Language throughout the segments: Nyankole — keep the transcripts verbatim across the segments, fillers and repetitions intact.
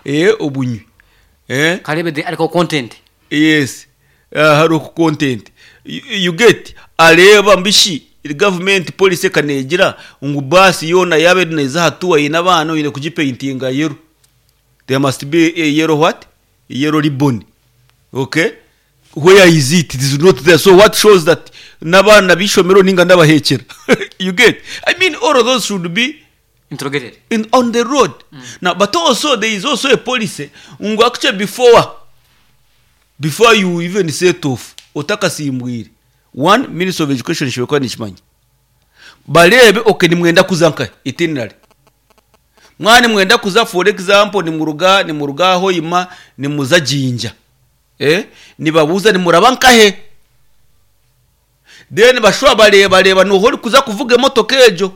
Eh, obunywi eh Karebe the article content. Yes, uh, hariho content you, you get areeba mbishi government policy ekanegira ngu basi yoona yaba eri neeza aha tour eine abaana, oine kugipaintinga yellow. There must be a yellow what? A yellow ribbon. Okay, where is it? It is not there. So what shows that n'abaana b'ishomero ninga n'abahekyera? You get? I mean, all of those should be interrogated in, on the road mm. Now, but also there is also a policy ngu actually before before you even set off, otakasimbwire, one Minister of Education shibekuba nikimanya, bareebe, okay, nimwenda kuza nkahe, itinerary mwana mwenda kuza. For example, nimuruga nimuruga Hoima nimuza Jinja, eh nibabuza nimuraba nkahe, then bashobora bareba bareba nuho uri kuza kuvuga emotoka ejo,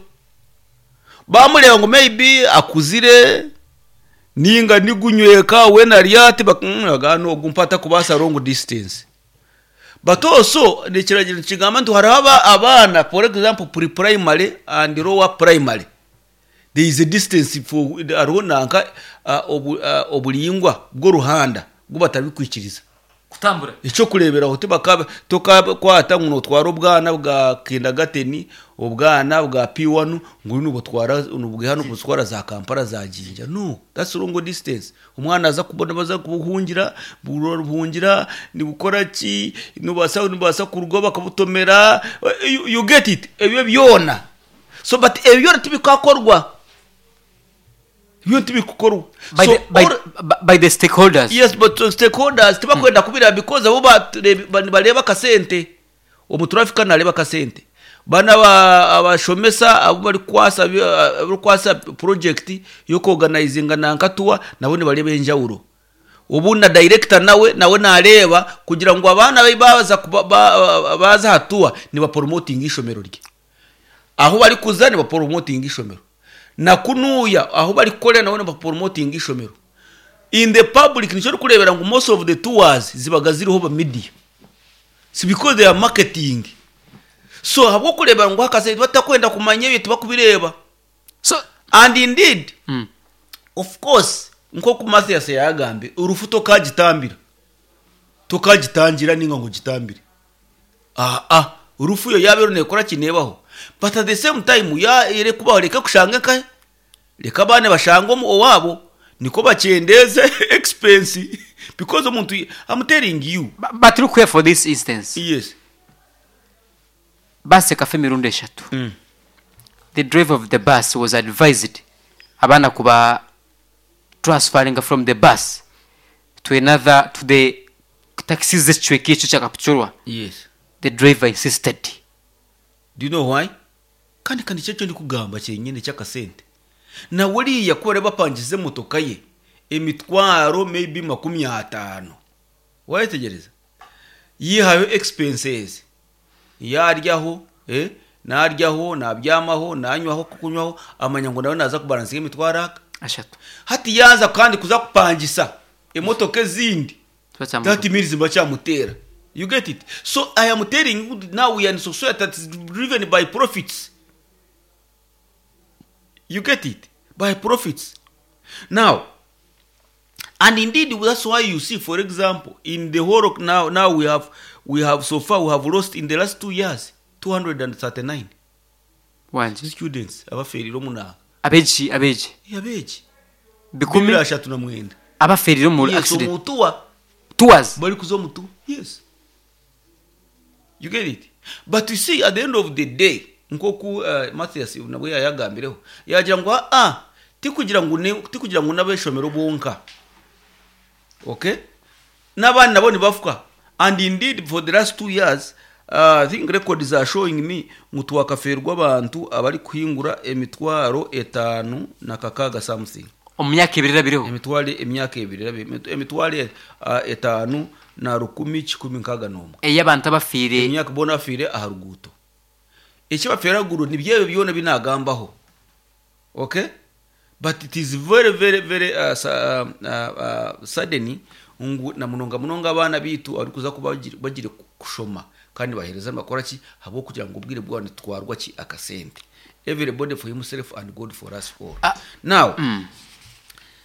bamureba ngo maybe akuzire ninga nigunyweka we naryati nogu mpata kubasa long distance. But also nekiragiro kigamba nti hariho aba- abaana, for example, pre primary and lower primary, there is a distance for hariho nanka uh, obu, uh, oburingwa bw'oruhanda bwo batarikwikiriza kutambura. Ekyokureberaho, tibaka tokakwata ngu notwara obwana bwa kindergarten, obwana bwa P one, ngu nubutwara nubwiha nubutwara za Kampala, za Jinja. No, that's wrong distance. Umwana aza kubona baza kubuhungira, buhungira nibukora ki, nubasa nubasa kurugo bakabutomera. you, you get it? Ebyo byona. So, but ebyo byona tibikakorwa, ebyo tibikukorwa. By, So the, by, all- by the stakeholders. Yes, but uh, stakeholders tibakwenda kubira because abo bature- ba- bareba akasente, omutrafika nareba akasente, bana aba- abashomesa abo bari kwasa bari kwasa project yo kuorganizinga nanka tour, nabo nibareba enjawulo. Ubu na director nawe nawe nareba kugira ngo abaana be baza kuba- ba- baza hatua niba promoting ishomero rye, aho bari kuza niba promoting ishomero, na kunuya aho bari kukorera nabo niba promoting ishomero in the public. Nicyo uri kurebera ngo most of the tours zibaga ziriho ba media, si because they are marketing. So habwo kurebera ngo hakase batakwenda kumanya ebyo, tibakubireba. So And indeed, mm. of course, nkoku Mathias yagambye, urufu tokagitambira, tokagitangira ninga ngo gitambire. Ah ah, urufu yo yaba runekora kinebaho, but at the same time ya ere kubaho, reka kushanga nkahe, reka abana bashanga omu owabo, niko bakendeze expense, because omuntu, I'm telling you. But, but look here, for this instance, yes basi ekafa emirundi eshatu. mm. The driver of the bus was advised abaana kuba transferring from the bus to another, to the taxis z'ekicweka ekyo kyakapchurwa. Yes the driver insisted. Do you know why? Kandi kandi icyo ndi kugamba kyenyine ky'akasente, nawe uriya kuba bapangize emotoka ye emitwaro maybe makumi ataano, wayetegereza yihayo expenses, yaryaho, eh, naryaho, nabyamaho, nanywaho, kukunywaho, amanya ngo nawe naza kubalansinga emitwaro aka ashatu. Hati yaza kandi kuza kupangisa emotoka ezindi, Tubacyamu- that means bacyamutera. You get it? So I am telling you, now we are in society that is driven by profits. You get it? By profits now. And indeed, that's why you see, for example, in the whole of now now we have we have so far we have lost in the last two years two hundred thirty-nine wanje students abaferire omunaka. Abeegi, abeegi? Abeegi. Bikumi bibiri ashatu na mwenda. Abaferire mu Yes. accident. Omutuwa. Tours. Bari kuza omutu, yes. You get it? But you see, at the end of the day, nkoku uh, Mathias nabwe yayagambireho, yagira ngo ah tikugira ngo ne- tikugira ngo n'abeshomero bonka, okay, n'abandi nabo nibafuka. And indeed, for the last two years, uh, I think records are showing me ngu twakaferwa abantu abari kuhingura emitwaro etaanu na kakaga something. Omu myaka ebiri erabireho. Emitwaro emyaka ebiri erabi- emitwaro uh, etaanu na rukumi kikumi nkaaga n'omwe. Ey'abantu abafiire. Emyaka bona bafiire aha ruguuto. Eki bafiire ahaguru nibyebyo byona binagambaho, okay? But it is very very very uh, sa, uh, uh, sudden ngu na munonga munonga abaana bitu arikuza kuba bagire- bagire kushoma kandi bahereza bakora ki habwo kugira ngo ubwire bwabo nitwarwa ki akasente. Everybody for himself and God for us all. Ah. Now, Mm.